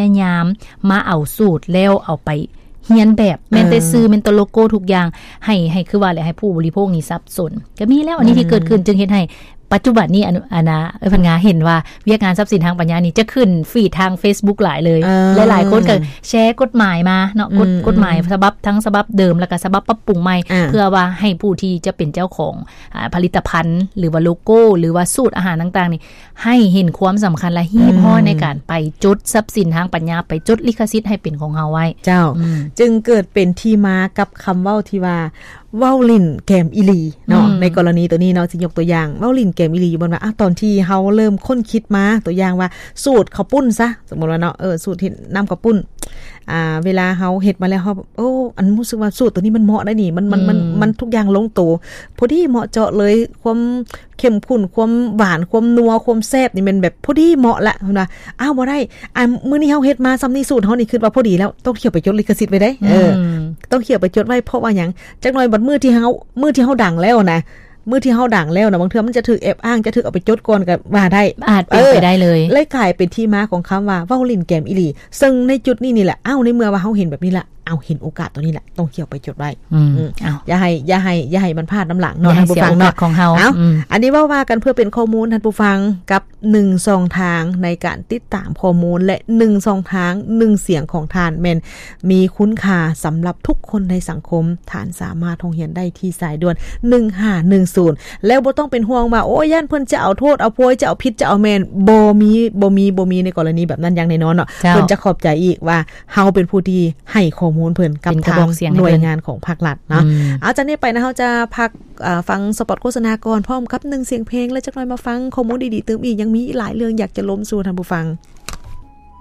ຍາຍາມມາເອົາສູດແລ້ວເອົາໄປຮຽນແບບ ແມ່ນແຕ່ ເອີ ຊື່ ແມ່ນແຕ່ໂລໂກ້ ທຸກຢ່າງ ໃຫ້ ໃຫ້ ຄືວ່າແຫຼະ ໃຫ້ຜູ້ບໍລິໂພກນີ້ສັບສົນ ກໍມີແລ້ວ ອັນນີ້ທີ່ ອືມ ເກີດຂຶ້ນ ຈຶ່ງເຮັດໃຫ້ປັດຈຸບັນນີ້ ອັນ ອັນນາ ເອີ ເພິ່ນກະເຫັນວ່າວຽກງານຊັບສິນທາງປັນຍານີ້ຈະຂຶ້ນຟີດທາງເຟສບຸກຫຼາຍເລີຍ ເອີ ຫຼາຍໆຄົນກໍແຊກົດໝາຍມາເນາະ ກົດ ອືມ ກົດໝາຍ ອືມ ສະບັບ ທັງສະບັບເດີມ ແລ້ວກໍສະບັບປັບປຸງໃໝ່ ອ່າ ເພື່ອວ່າໃຫ້ຜູ້ທີ່ຈະເປັນເຈົ້າຂອງ ອາ ຜະລິດຕະພັນ ຫຼືວ່າໂລໂກ້ ຫຼືວ່າສູດອາຫານຕ່າງໆນີ້ ໃຫ້ເຫັນຄວາມສຳຄັນ ແລະ ຮີບຮ້ອນ ອືມ ໃນການໄປຈົດຊັບສິນທາງປັນຍາ ໄປຈົດລິຂະສິດໃຫ້ເປັນຂອງເຮົາໄວ້. ເຈົ້າ ອືມ ຈຶ່ງເກີດເປັນທີ່ມາກັບຄຳເວົ້າທີ່ວ່າ ເວົ້າຫຼິ້ນແກມອີ່ຫຼີເນາະ ອືມ ໃນກໍລະນີໂຕນີ້ເນາະ ຊິຍົກຕົວຢ່າງ ເວົ້າຫຼິ້ນແກມອີ່ຫຼີ ຢູ່ບ່ອນວ່າ ອາ ຕອນທີ່ເຮົາເລີ່ມຄົ້ນຄິດມາ ຕົວຢ່າງວ່າ ສູດເຂົ້າປຸ້ນຊະ ສົມມຸດວ່າເນາະ ເອີ ສູດເຮັດນ້ຳເຂົ້າປຸ້ນ ອ່າ ເວລາເຮົາເຮັດມາແລ້ວ ເຮົາ ໂອ້ ອັນ ຮູ້ສຶກວ່າສູດໂຕນີ້ມັນເໝາະໄດ໋ນີ້ ມັນ ມັນ ມັນ ອືມ ມັນທຸກຢ່າງລົງໂຕ ພໍດີເໝາະເຈາະເລີຍ ຄວາມເຂັ້ມຂຸ້ນ ຄວາມຫວານ ຄວາມນົວ ຄວາມແຊບນີ້ແມ່ນແບບພໍດີເໝາະລະ ເພິ່ນວ່າ ອ້າວ ບໍ່ໄດ້ ອັນ ມື້ນີ້ເຮົາເຮັດມາຊ່ຳນີ້ ສູດເຮົານີ້ຄິດວ່າພໍດີແລ້ວ ຕ້ອງທ່ຽວໄປຈົດລິຂະສິດໄວ້ເດ້ ເອີ ອືມ ຕ້ອງທ່ຽວໄປຈົດໄວ້ ເພາະວ່າຫຍັງ ຈັກໜ່ອຍບັດມື້ທີ່ເຮົາ ມື້ທີ່ເຮົາດັງແລ້ວນະ ມື້ທີ່ເຮົາດັງແລ້ວນະ ບາງເທື່ອມັນຈະຖືກແອບອ້າງ ຈະຖືກເອົາໄປຈົດກ່ອນກໍວ່າໄດ້ ອາດເປັນໄປໄດ້ເລີຍ ເອີ ເລີຍກາຍເປັນທີ່ມາຂອງຄຳວ່າ ເວົ້າຫຼິ້ນແກມອີ່ຫຼີ ເຊິ່ງໃນຈຸດນີ້ນີ້ແຫຼະ ເອົ້າ ໃນເມື່ອວ່າເຮົາເຫັນແບບນີ້ລະ ເອົາ ເຫັນໂອກາດໂຕນີ້ແຫຼະ ຕ້ອງທ່ຽວໄປຈົດໄວ້ ອືມ ອືມ ເອົ້າ ຢ່າໃຫ້ ຢ່າໃຫ້ ຢ່າໃຫ້ມັນພາດນຳຫຼັງເນາະ ທ່ານຜູ້ຟັງເນາະ ເອົ້າ ອືມ ອັນນີ້ເວົ້າວ່າກັນເພື່ອເປັນຂໍ້ມູນທ່ານຜູ້ຟັງ ກັບໜຶ່ງຊ່ອງທາງໃນການຕິດຕາມຂໍ້ມູນ ແລະ ໜຶ່ງຊ່ອງທາງ ໜຶ່ງສຽງຂອງທ່ານ ແມ່ນມີຄຸນຄ່າສຳລັບທຸກຄົນໃນສັງຄົມ ທ່ານສາມາດຮ້ອງຮຽນໄດ້ທີ່ສາຍດ່ວນ ໜຶ່ງຫ້າໜຶ່ງສູນ ແລ້ວບໍ່ຕ້ອງເປັນຫ່ວງວ່າ ໂອ້ຍ ຢ້ານເພິ່ນຈະເອົາໂທດເອົາໂພຍ ຈະເອົາຜິດຈະເອົາແມ່ນ ບໍ່ມີ ບໍ່ມີ ບໍ່ມີໃນກໍລະນີແບບນັ້ນຢ່າງແນ່ນອນເນາະ ເຈົ້າ ເພິ່ນຈະຂອບໃຈອີກວ່າເຮົາເປັນຜູ້ທີ່ໃຫ້ຂໍ້ມູນເພິ່ນກັບທາງໜ່ວຍງານຂອງພາກລັດເນາະ ເປັນກະບອກສຽງໃຫ້ເພິ່ນ ອືມ ເອົາ ຈາກນີ້ໄປນະ ເຮົາຈະພັກ ອາ ຟັງສະປອດໂຄສະນາກ່ອນ ພ້ອມກັບໜຶ່ງສຽງເພງ ແລະ ຈັກໜ່ອຍມາຟັງຂໍ້ມູນດີໆຕື່ມອີກ ຍັງມີອີກຫຼາຍເລື່ອງຢາກຈະລົມສູ່ທ່ານຜູ້ຟັງ.